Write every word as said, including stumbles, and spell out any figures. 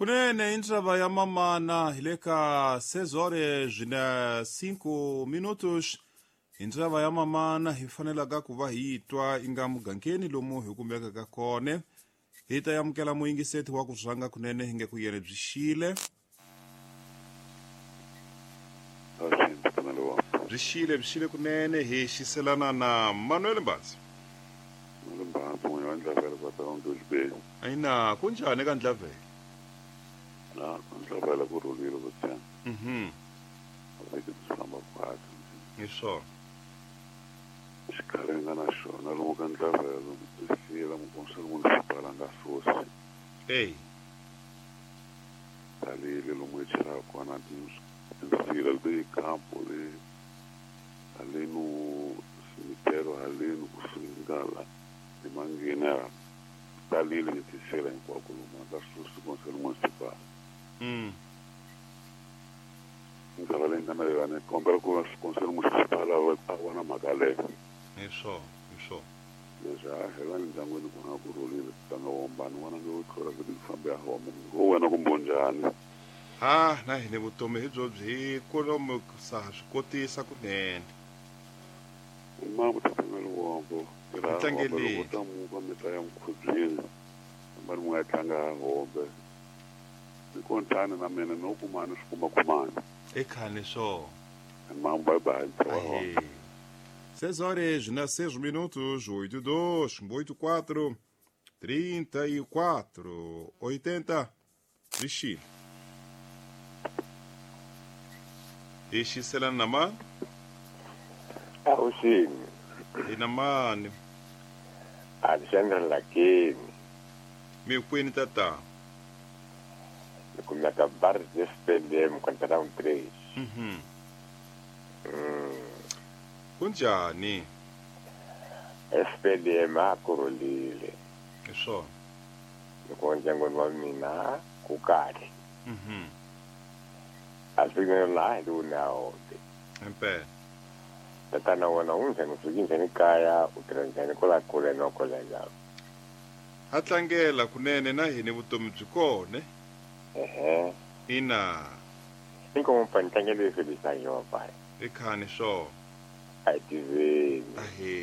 Kunene indzaba ya mamana hi le ka seis horas na cinco minutos. Indzaba ya mamana hi fanelaka ku va hi twa inga mugangeni lomu hi kumekaka kona. Hi ta amukela muyingiseti wa ku rhanga kunene hi nge ku yena byi xile. Byi xile byi xile kunene hi xiselana na Manuel Mbatsi. Manuel Mbatsi n'wina wa Ndlavela va ta Ndluveni. Ayina kunjani ka Ndlavela? Na Ndlavela ku rhulile ku tshama. Mhm. Vhiki byi famba kahle. Hi swona. Xikhalenga na xona lomu ka Ndlavela tisiyela mukonselo municipal a nga susi. Ey. Talile lomu hi chelaka kona tinsila leti campo le haleno cemitério haleno kusingala emanghena talile tisiyela hinkwako lomu a nga susi konselo municipal. Mm. Ndlela leyi nga na yona kombela ku konselo municipal a vona mhaka leyo. Hi swona, hi swona. Leswi a hela ndyangwini ku nga ku rhulile tlanga wombani n'wana nge wu tlula vhiki ku fambe ya homa ngo wena kumbe njhani. Ha na hina vutomi hi byo byi kolomu sa swi kotisa kunene. Mama tatana wombo tirha Tlangeli. loko ta muka mi ta ya mukhubyeni hambani mu nga tlanga hombe ni kontani na mina no kumani swi kuma kumani. Ekhani swo. Mama bye bye. Ahe. Seis horas na seis minutos, oito dois, oito quatro, trinta e quatro, oitenta, Vixi. Ixiselana na mani? Awuxini. Hi na mani? Alexandre Lakeni. Mi kwini tata? Ni kumeka Bar de S P L M quarteirão três. Mhm. Mm. Kunjani? S P L M a ku rhulile. Hi swona. Loko ndyangwini wa mina ku kahle. Mhm. A swi nge laha hi lowu na hombe. Impela. Tatana wena u njhani u fiki njhani kaya u tirha njhani kwala kule na kule njhani? Ha tlangela kunene na hina vutomi byi kona. Ehe. Ina. Inkomo pa ni tlangele Felisa Yehova. Ekhani swona. A hi tiveni. Ahe.